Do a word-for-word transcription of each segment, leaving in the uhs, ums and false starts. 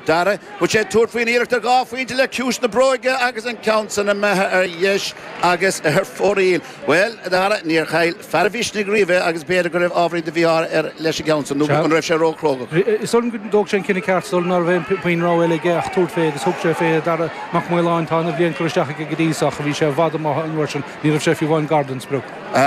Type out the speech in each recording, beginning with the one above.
Dara, bhfuil sé tabhairt faoin iarracht ar dhá phointe le ciumhais na bróige agus an ceann san imithe ar dheis agus ar fóraoil. Bhuel, a Dhara, níor chaill fear an mhisnigh riamh é agus b'fhéidir go raibh ábhairín de mhí-ádh air leis an gceann san, nó an raibh sé róchróga? Is dóigh liom go dtóg sé an cinneadh ceart, is dóigh liom ná raibh aon puinn rogha eile aige ach tabhairt fé agus thug sé fé. Dara Mac Maoláin, tá ana-bhliain curtha isteach aige go dtí so ach bhí sé i bhfad amuigh an uair sin, ní raibh sé fiú amháin gar don sprioc.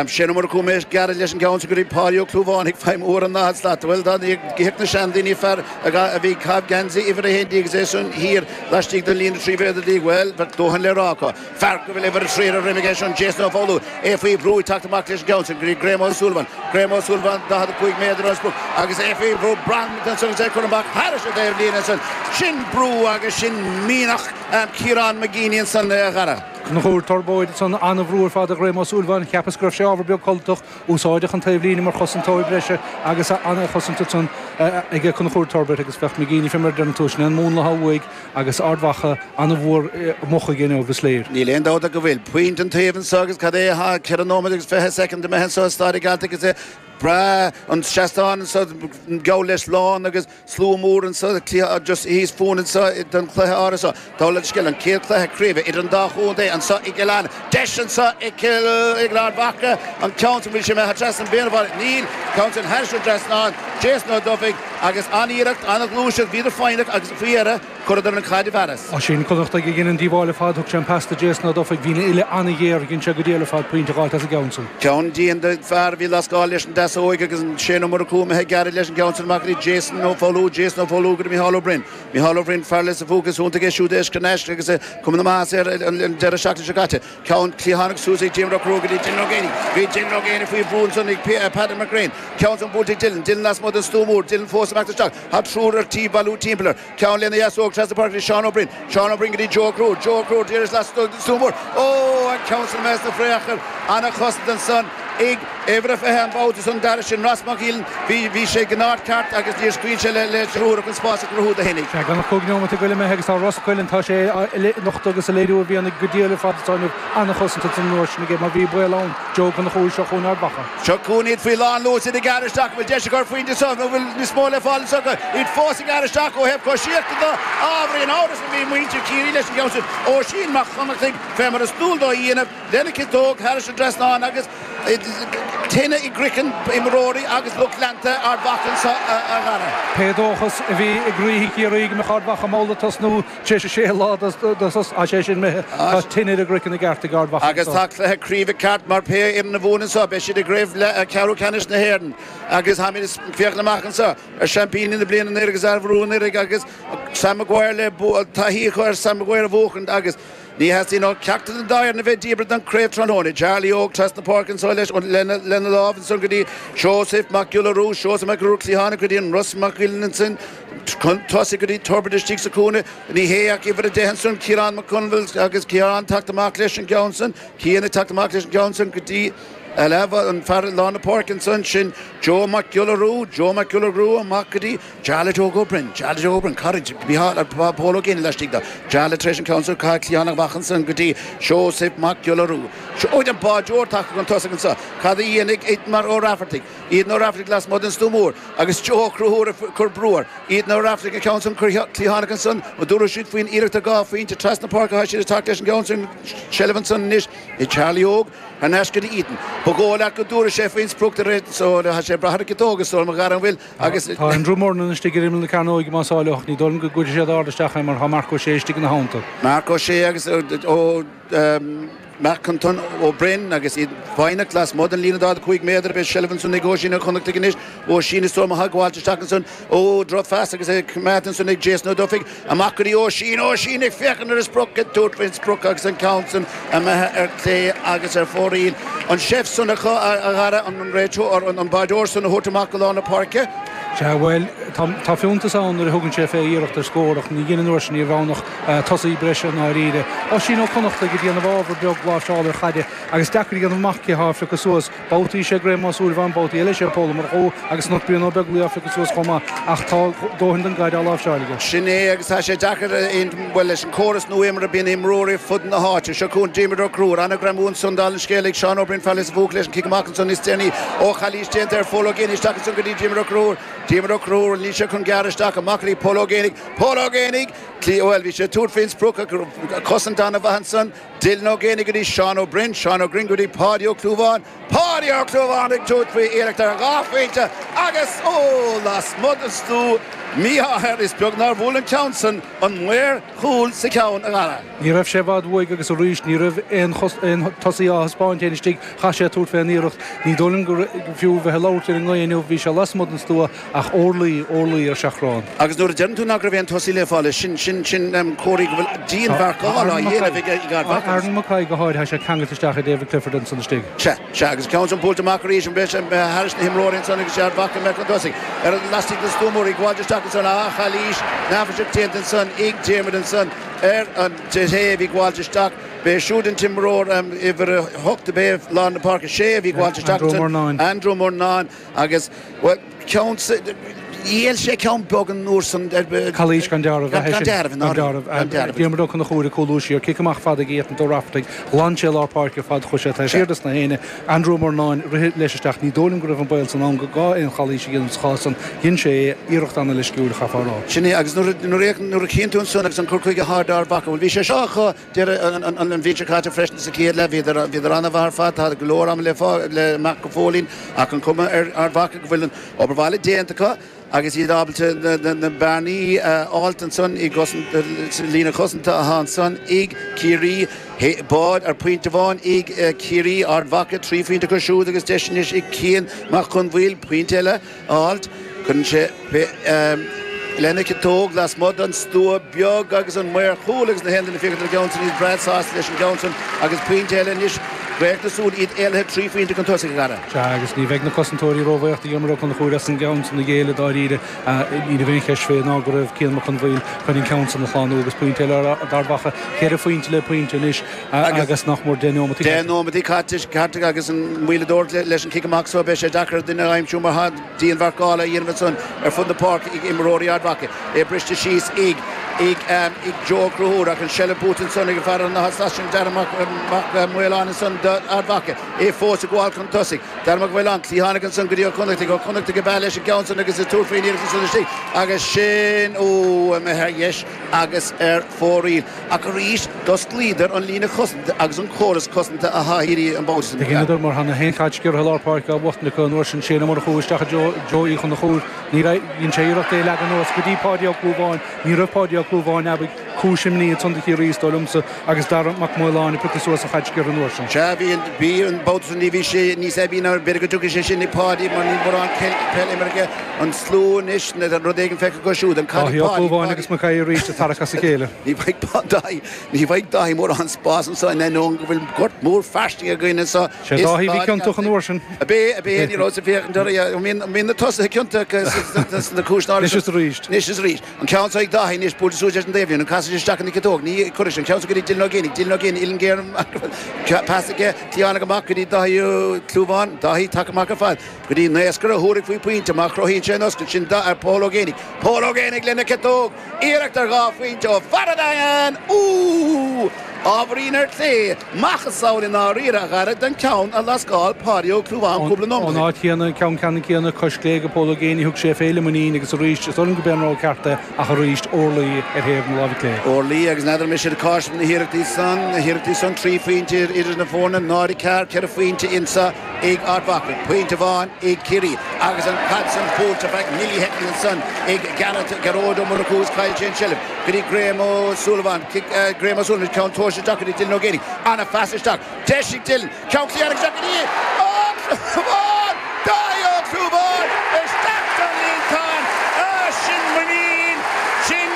Shane Ó Murchú méis gearradh leis an gceann san go dtí Páidí Ó Clúmháin ag feidhmiú ar an daichead slat. Bhuel, dá dtiocfadh na seandaoine fear a bhí ag caitheamh geansaí uimhir a haon déag agus é san thiar laistigh den líne trí mhéadar déag, bhuel, bheadh dóthain le rá acu. Fear go bhfuil uimhir a trí ar a dhroim aige sin, Jason Ó Foghlú, é faoi bhrú ag teacht amach leis an gceann san go dtí Graham Ó Súilleabháin. Graham Ó Súilleabháin, daichead a cúig méadar ón sprioc agus é faoi bhrú, braitheann ansan agus é curtha amach thairis an dtaobhlíne ansan. Sin brú agus sin mianach Ciarán McGeeney ansan, a Dhara. Conchúr Torbóid ansan an-bhrú ar fad ar Ghraham Ó Súilleabháin. Cheapas go raibh sé ábhar beag codlatach. Úsáideadh an taobhlíne mar chosantóir breise agus an-chosaint ansan aige Conchúr Torbert agus bheadh McGeeney fé mar a deireann tú, sin é an múnla atá uaidh agus Ard Mhacha an-mhór amuigh aige inniu, is léir. Níl aon dabht ach go bhfuil. Pointe an taobh anso agus cad é atá ceithre nóiméad agus fiche soicind imithe anso i Staid an Ghealtaigh agus é breá an seastán anso geall leis lán agus slua mór anso just thíos fúinn anso don chluiche áirithe seo. Dála an scéil, an chéad chluiche craoibhe idir an dá chontae anso i gCill Airne. Deis anso ag Cill ag Ard Mhacha an ceann san bhfuil sé imithe trasna an bhféinbháil. Níl. Ceann san thairis an trasnán. Jason Ó Dufaigh agus an-iarracht, an-ghluaiseacht, bhíodar foighneach agus faoi dheireadh chuireadar an chaid i bhfearas. Oisín Connachtaigh a dhein an díobháil ar fad. Thug sé an pas do Jason Ó Dufaigh. Bhí an uille an-ghéar. Dhein sé go diail ar fad pointe a dh'fháilt as an gceann san. Ceann dian de fear a bhí lascáil leis an deasóig agus an Shane Ó Murchú imithe gearradh leis an gceann san amach go dtí Jason Ó Foghlú, Jason Ó Foghlú go dtí Micheál Ó Broin. Micheál Ó Broin, fear Lios an Phúca is iontach é siúd é thar n-ais agus é cuma na maitheasa air an deireadh seachtaine seo caite. Ceann cliathánach suas ag Diarmuid Ó Conchúir go dtí Dylan Ó Géibheannaigh. Bhí Dylan Ó Géibheannaigh faoi bhrú ansan ag Peadar McGrain. Ceann san buailte ag Dylan. Dylan lasmuigh den stua mór. Dylan fós amach isteach. Tá triúr ar tí bailiú timpeall air. Ceann lena dheasóg trasna páirce go dtí Seán Ó Broin. Seán Ó Broin go dtí Joe Ó Conchúir. Joe Ó Conchúir d'iarraidh lasmuigh den stua mór. Ó! An ceann san imithe sna friochair. Ana-chosaint ansan ag uimhir a fiche an babhta san Dara sin Ross Mac Giolláin. Bhí bhí sé ag an áit ceart agus níor scaoil sé le le triúr ach an spás a chruthú do fhéinig. Sea, gan ach cúig neomat ag goil imithe agus tá Ros Coileáin, tá sé á nochtadh agus a léiriú a mhianaigh go diail ar fad atá inniu. An-chosaint ansan an uair sin aige mar bhí baol ann. Joe Ó Conchúir seo chugainn Ard Mhacha. Seo chugainn iad faoi lán luas, iad ag gearradh isteach, an bhfuil deis acu ar phointe anseo nó an bhfuil níos mó le fáil anseo acu? Iad fós ag gearradh isteach ó thaobh coisíochta de. Ábhairín amhras a bhí muintir Chiarraí leis an gceann sin. Oisín Mac Connachtaigh, fé mar is dual dó a dhéanamh, lena chiotóg thairis an dtrasnán agus tine i gcraiceann imreoirí agus lucht leanta Ard Mhacha anseo, a Dhara. Pé dóchas a bhí i gcroíthe Chiarraí go mbeadh Ard Mhacha mall ag tosnú tar éis a sé lá de sos, tá sé sin imithe. Tá tine ar a gcraiceann i gceart ag Ard Mhacha Agus anseo. tá cluiche craoibhe ceart mar pé fhoireann a bhuann anseo, beidh siad i gcraobh ceathrú ceannais na hÉireann agus táimid ag féachaint amach anseo ar seaimpíní na bliana anuraidh agus a bhuaigh anuraidh agus Sam Maguire le taithí acu ar Sam Maguire a bhuachaint agus Ní theastaíonn ó cheachtar den dá fhoireann a bheith díbeartha den chraobh tráthnóna. Charlie Óg trasna páirce anso leis lena lámh ansan go dtí Seosamh Mac Giolla Rua, Seosamh Mac Giolla Rua cliathánach go dtí an Ros Mac Uilinn ansin chun tosaigh go dtí Torbert istigh sa chúinne. Ní hé ach uimhir a deich ansan, Ciarán Mac Conmhail agus Ciarán teacht amach leis an gceann san. Cian ag teacht amach leis an gceann san go dtí an fear i lár na páirce ansan, sin Joe Mac Giolla Rua, Joe Mac Giolla Rua amach go dtí Jarlath Óg Ó Broin, Jarlath Óg Ó Broin, cara Mhícheál, Pól Ó Géibheannaigh laistigh de, Jarlath tar éis an ceann san, caitheadh cliathánach amach ansan go dtí Seosamh Mac Giolla Rua. Seoid an báideoir tagtha chun tosaigh anso. Cad a dhéanfaidh Aidan Ó Raifeartaigh? Aidan Ó Raifeartaigh lasmuigh den stua mór agus Joe Ó Conchúir ag cur brú air. Aidan Ó Raifeartaigh an ceann san, cliathánach ansan, an dtabharfaidh siad faoin iarracht ar dhá phointe trasna páirce atá siad ag teacht leis an gceann san, seilbh ansan anois ag Charlie Óg. Thar n-ais go dtí Aidan. Ba dhóigh leat go dtabharfaidh sé faoin sprioc de réir so tá sé ag brath ar an gciotóg is dóigh liom a Dhara an bhfuil agus. Tá Andrew Murnin istigh ar imeall na cearnóige más áil leo ach ní dóigh liom go gcuirfidh siad ard isteach é mar tá Marc Ó Sé istigh ina theannta. Marc Ó Sé agus ó Mac Anton Ó Broin agus iad foighneach lasmuigh den líne daichead a cúig méadar. Beidh seilbh ansan ag Oisín Ó Connachtaigh anois. Oisín is dóigh liom atá ag gabháilt isteach ansan. Ó drochphas agus é coimeádta ansan ag Jason Ó Dufaigh. Amach go dtí Oisín. Oisín ag féachaint ar an sprioc, ag tabhairt faoin sprioc agus an ceann san imithe ar clé agus ar fóraoil. An seift san acu, a Dhara, an réiteoir, an báideoir san a thabhairt amach go lár na páirce. Sea, bhuel, tá, tá fiúntas ann nuair a thugann sé fé iarracht ar scór ach ní dhein an uair sin, ní raibh ann ach tosaí breise i ndáiríre. Oisín Ó Connachtaigh ag déanamh ábhar beag láimhseála ar chaide agus deacair a dhéanamh amach cé thá á phiocadh suas. Babhtaí is é Graham Ó Súilleabháin, babhtaí eile is é Pól Ó Murchú agus anocht Brian Ó Beaglaoich á phiocadh suas chomh maith ach tá dóthain den gcaid á láimhseáil aige. Sin é agus tá sé deacair aon, bhuel, leis an córas nua imeartha bíonn imreoirí ar fud na háite. Seo chugainn Diarmuid Ó Conchúir, an-ghreamú ansan dála an scéil ag Seán Ó Broin fear Lios an Phúca leis an cic amach ansan níos déanaí ó chalaois déanta ar Phól Ó Géibheannaigh isteach ansan go dtí Diarmuid Ó Conchúir. Diarmuid Ó Conchúir níl sé chun gearradh isteach amach le Pól Ó Géibheannaigh Pól Ó Géibheannaigh bhuel bhí sé tabhairt faoin sprioc cosaint an-mhaith ansan Dylan Ó Géibheannaigh go dtí Seán Ó Broin Seán Ó Broin go dtí Páidí Ó Clúmháin Páidí Ó Clúmháin ag tabhairt faoi iarracht ar dhá phointe agus ó lasmuigh den stua mí-ádh is beag nár bhuail an ceann san an maor chúil sa cheann a Dhara. Ní raibh sé i bhfad uaidh agus arís ní raibh aon tosaí á thaispeáint aon istigh chaith sé tabhairt fén iarracht ní dóigh liom go fiú bheith ag labhairt ar an ngaoth inniu bhí sé lasmuigh den stua ach orlaí orlaí ar seachrán. Agus nuair a deireann tú nach raibh aon tosaí le fáil sin sin sin comhartha go bhfuil dianmharcáil á dhéanamh ag ag Ard Mhacha. Aaron McKay go háirithe sé ceangailte isteach ag David Clifford ansan istigh. Se se agus ceann san buailte amach arís an beidh sé thairis na himreoirí ansan agus Ard Mhacha mbeidh chun tosaigh ar an laistigh den stua mór ag gabháil isteach ansan a chalaois neafaiseach déanta ansan ag Diarmuid ansan ar an té a bhí gabháilt isteach b'é siúd an t-imreoir uimhir a hocht a b'é lár na páirce sé a bhí gabháilt isteach Andrew Murnane. Andrew Murnane agus well ceann Dhíol sé ceann beag an uair san Calaois gan dealramh gan dealramh gan dealramh Diarmuid Ó Conchúir ag cúlú siar cic amach fada ag Ethan Ó Raftaigh ghlan sé lár páirce fad chuaigh sé taobh thiar des na héinne Andrew Murnane rith leis isteach ní dóigh liom go raibh an baol san ann go gá aon chalaois a dhéanamh sa chás san dhein sé iarracht an-leisciúil chaithfeá a rá. Sin é agus nuair nuair a chíonn tú ansan agus an cur chuige atá ag Ard Mhacha bhuel bhí sé seo acu deireadh an bhliain seo caite freisin sa chéad leath bhíodar bhíodar an-mhaith ar fad tá go leor ama le le amach go fóillín ach an cuma ar Ard Mhacha go bhfuil an obair bhaile déanta acu agus iad ábalta na bearnaí a fháilt ansan i líne chosanta atá ansan ag Ciarraí bád ar pointe amháin ag Ciarraí Ard Mhacha trí phointe acu siúd agus deis anois ag Cian Mac Conmhaoil pointe eile a fháilt cuireann sé lena chiotóg lasmuigh den stua beag agus an maor chúil agus na haon duine féachaint ar an gceann san iad breá sásta leis an gceann san agus pointe eile anois Radharc na súl iad éalaithe trí phointe chun tosaigh a Dhara. Sea agus ní bheidh na cosantóirí róbhuíoch de Dhiarmuid Ó Conchúir as an gceann san a ghéilleadh dáiríre. Ní raibh aon cheist fé ná go raibh Cian Mac Conmhaoil chun an ceann san a shlánú agus pointe eile d'Ard Mhacha ceithre phointe le pointe anois agus nach mór deich nóimeataí Deich nóimeataí caite caite agus an maoladóir leis an cic amach so beidh sé deacair duine a aimsiú mar tá dianmharcáil á dhéanamh ansan ar fud na páirce ag imreoirí Ard Mhacha. É briste síos ag ag ag Joe Ó Conchúir ach an seilbh buaite ansan ag an fear an sin Darragh Mac Maoláin ansan d'Ard Mhacha. É fós ag gabháil chun tosaigh. Darragh Mac Maoláin cliathánach ansan go dtí Ó Connachtaigh Ó Connachtaigh ag beith leis an gceann san agus ag tabhairt faoin iarracht ansan istigh agus sin ó imithe ar dheis agus ar fóraoil. Ach arís d'osclaíodar an líne chosanta agus an córas cosanta atá Ciarraí an babhta sin. Dheineadar mar tá na haon chaid sciorrtha lár páirce á bhuachtaint acu an uair sin Shane Ó Murchú isteach i Joe Joe Uí Chonchúir. Ní raibh dhein sé iarracht é a leagan anuas go dtí Páidí Ó Clúmháin. Ní raibh Páidí Ó Clúmháin abaidh cúis imní ansan do Chiarraí is dóigh liomsa agus Dara Mac Maoláin ag piocadh suas an chaid sciorrtha an uair sin. Sea bhí an bhí an babhta san ní bhí sé níos aibí ná b'fhéidir go dtiocfaidh sé sin ag Páidí mar níl mórán peil imeartha aige an slua anois nó rud éigin feicthe acu siúd an caid Dáithí Ó Páidí Clúmháin Páidí agus McKay arís ag tarrac as a chéile. Ní bheidh Dáithí ní bheidh Dáithí mórán spás anso in ainneoin go bhfuil gort mór fairsing againn anso Sé i Dáithí bhí Staid ciontach an uair sin. Ab é ab é ní raibh sa féachaint orthu an mbíonn an mbíonn na tosaithe ciontach sna cúiseanna Anois is arís. Anois is arís. An ceann seo ag Dáithí anois buailte suas leis an taobhlíne an casadh isteach ina chiotóg ní chuirfidh sé an ceann seo go dtí Dylan Ó Géibheannaigh Dylan Ó Géibheannaigh uillinn ghéar pas aige cliathánach amach go dtí Dáithí Ó Clúmháin Dáithí tagtha amach ar fad go dtí naoscaire a thabharfaidh faoi phointe má chruthaíonn sé an oscailt sin ar Pól Ó Géibheannaigh Pól Ó Géibheannaigh lena chiotóg iarracht ar dhá phointe ó fear an Daingin Úúú! Ábhairín ar clé macasamhail i ndáiríre a Dhara den cheann a lascáil Páidí Ó Clúmháin cúpla nóiméad Ón ó shin. áit chéanna, an ceann ceannann céanna, cois clé ag Pól Ó Géibheannaigh, thug sé fé le muinín agus arís, is dóigh liom go b'é an rogha ceart é, ach arís, orlaí ar thaobh na láimhe clé. Orlaí agus n'fheadar an mbeidh siad ag cáiseamh na hiarrachtaí san, na hiarrachtaí san, trí phointe idir na foirne, náid a ceathair, ceithre phointe anso ag Ard Mhacha, pointe amháin ag Ciarraí agus an chaid san buailte feadh millishoicind ansan ag Gearóid, Gearóid Ó Murchú is chaill sé an tseilbh go dtí Graham Ó Súilleabháin, cic Graham Ó Súilleabháin, ceann tomhaiste isteach go dtí Dylan Ó Géibheannaigh, ana-phas isteach, deis ag Dylan, ceann cliatháin isteach go dtí Ó Clúmháin! Dáithí Ó Clúmháin isteach don líontán! Ah, sin muinín, sin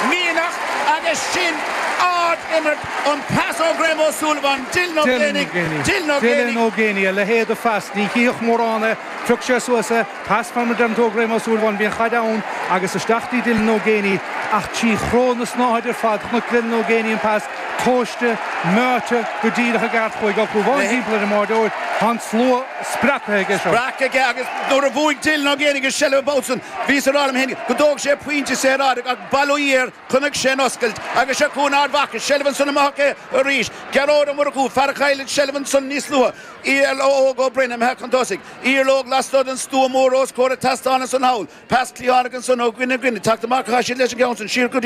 mianach agus sin ard-imirt, an pas ó Graham Ó Súilleabháin, Dylan Ó Dylan Ó Géibheannaigh, Géibheannaigh, Dylan Ó Dylan Géibheannaigh. Ó Géibheannaigh, a leithéid de phas, ní chífeadh mórán é, phioc sé suas é, pas mar a deireann tú ó Graham Ó Súilleabháin, bhí an chaid ann agus isteach dtí Dylan Ó Géibheannaigh, ach trí chró na snáthaide ar fad, chonaic Glennon Ó Géibheannaigh an pas tomhaiste, meáite go díreach i gceart chuig Ó Clúmháin timpeall ar an mbáireoir. Tá an slua spreagtha aige seo. Spreagtha aige agus nuair a bhuaigh Dylan Ó Géibheannaigh an seilbh an babhta san, bhíos ag rá liom féin go dtógfaidh sé pointe saoráideach ach bail ó Dhia air, chonaic sé an oscailt agus seo chugainn Ard Mhacha, seilbh ansan amach aici arís. Gearóid Ó Murchú, fear a chaill an seilbh ansan níos luaithe. Iarla Óg Ó Broin imithe chun tosaigh. Iarla Óg lastuas den stua mór os comhair an tseastáin ansan thall. Pas cliathánach ansan ó dhuine go duine. Teacht amach atá siad leis an gceann san siar go dtí.